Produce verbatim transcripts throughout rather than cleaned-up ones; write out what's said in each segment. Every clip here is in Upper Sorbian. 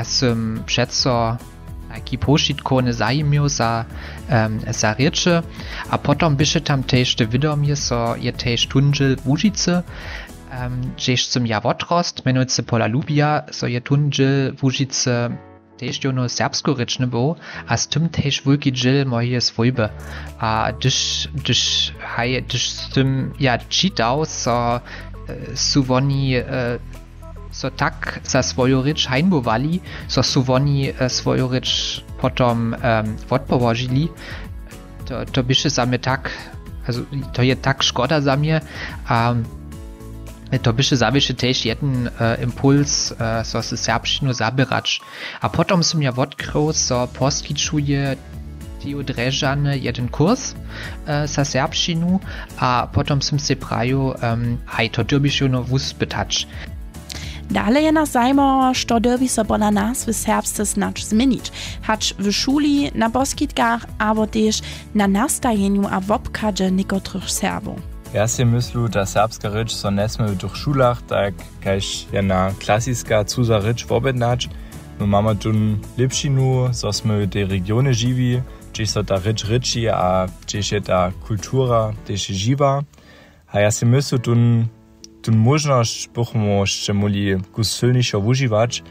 Ja sym přeco tajki powšitkowny zajimił za, za rěče. A potom běše tam tež te wědomje, zo je tež tón dźěl Łužicy, hdźež sym ja wotrostł, mjenujcy pola Lubija, zo je tón dźěl Łužicy tež jónu serbskorěčny był, a z tym tež wulki dźěl mojeje swójby. A hdyž hdyž haj hdyž sym ja čitał, zo su woni so tak za swoju rěč hańbowali, zo su woni swoju rěč potom wotpołožili. To běše za mje tak, to je tak škoda za mje. A to běše zawěsće tež jedyn impuls, zo se serbšćinu zaběrać. A potom sym ja wotkrył, zo poskićuje Theo Drježany jedyn kurs za serbšćinu. A potom sym sej prajił, haj, to dyrbiš jónu wuspytać. Dale je nas zajimało, što dyrbi so pola nas w serbsce snadź změnić, hač w šuli, na poskitkach abo tež na nastajenju a wobchadźe někotrych Serbow. Ja sej myslu, ta serbska rěč so njesmě w tych šulach tak kaž jedna klasiska cuza rěč wobjednać. My mamy tón lěpšinu, zo smy w tej regionje žiwi, hdźež so ta rěč rěči a hdźež je ta kultura tež žiwa. A ja sej myslu, tón móžnosć bychmy móhli kus sylnišo wužiwać.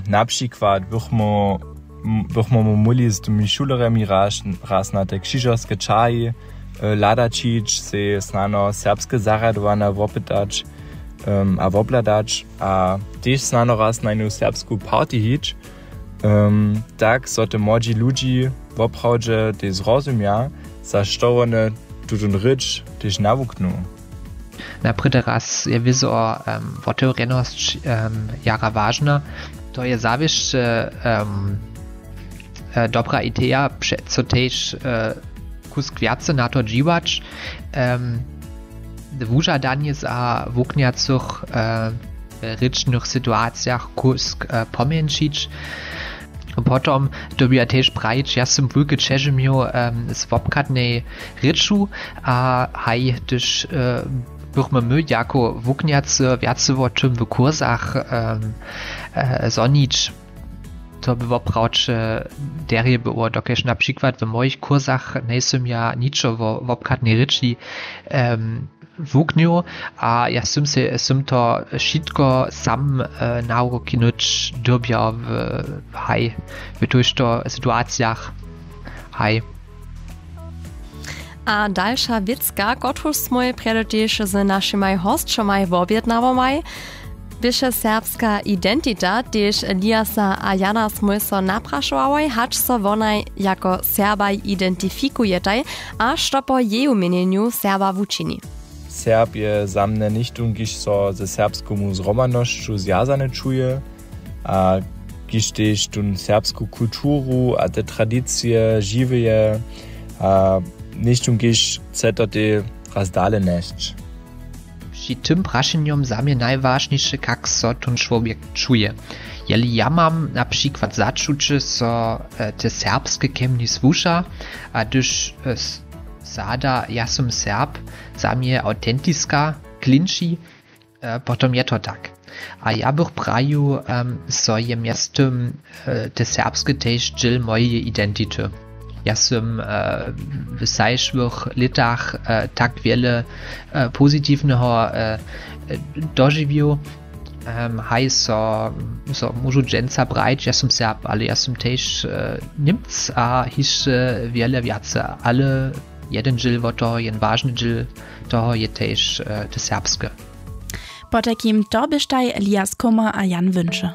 Na přikład bychmy móhli z tymi šulerjemi raz na te křižerske čahi hladaćić, sej snano serbske zarjadowana wopytać a wobhladać a tež snano raz na jednu serbsku party hić, tak zo te młodźi ludźi woprawdźe tež zrozumja, za što wone tutón rěč tež nawuknu. Naprědy raz je wězo wotewrjenosć jara wažna. To je zawěsće dobra ideja, přeco tež kusk wjace na to dźiwać. Wužadanje za wuknjacych w rěčnych situacijach kusk pomjeńšić. Potom dyrbja tež prajić, ja sym wulke ćeže měł z wobchadnej rěču. A haj hdyž bychmy my jako wuknjacy wjace wo tym w kursach zhonić, to by woprawdźe derje było, dokelž na přikład w mojich kursach njejsym ja ničo wo wobchadnej rěči wuknył. A ja sym sej sym to wšitko sam nawuknyć dyrbjał w haj w tójšto situacijach. Haj. A dalša wěcka, kotruž smój prjedy tež z našimaj hosćomaj wobjednałomaj, běše serbska identita. Tež Eliasa a Jana smój so naprašowałoj, hač so wonaj jako Serbaj identifikujetaj a što po jeju měnjenju Serba wučini. Serb je za mnje něchtón, kiž so ze serbskomu zhromadnosću zwjazany čuje a kiž tež tón serbsku kulturu a te tradicije žiwje a něchtón, kiž chce to tež raz dale njesć. Při tym prašenjom za mnje najwažniše, kak so tón čłowjek čuje. Jeli ja mam na přikład začuće, so te serbske kemni słuša, a hdyž zada ja sym Serb, za mnje autentiska klinči, potom je to tak. A ja bych prajił, zo je mjeztym te serbske tež dźěl mojeje identity. Ja sym w zašłych lětach tak wjele pozitiwneho dožiwił. Haj so so móžu dźensa prajić, ja sym Serb, ale ja sym tež Němc a hišće wjele wjace. Ale jedyn dźěl wot toho, jen wažny dźěl toho je tež te serbske. Potajkim to běštaj Elias Kummer a Jan Wünčer.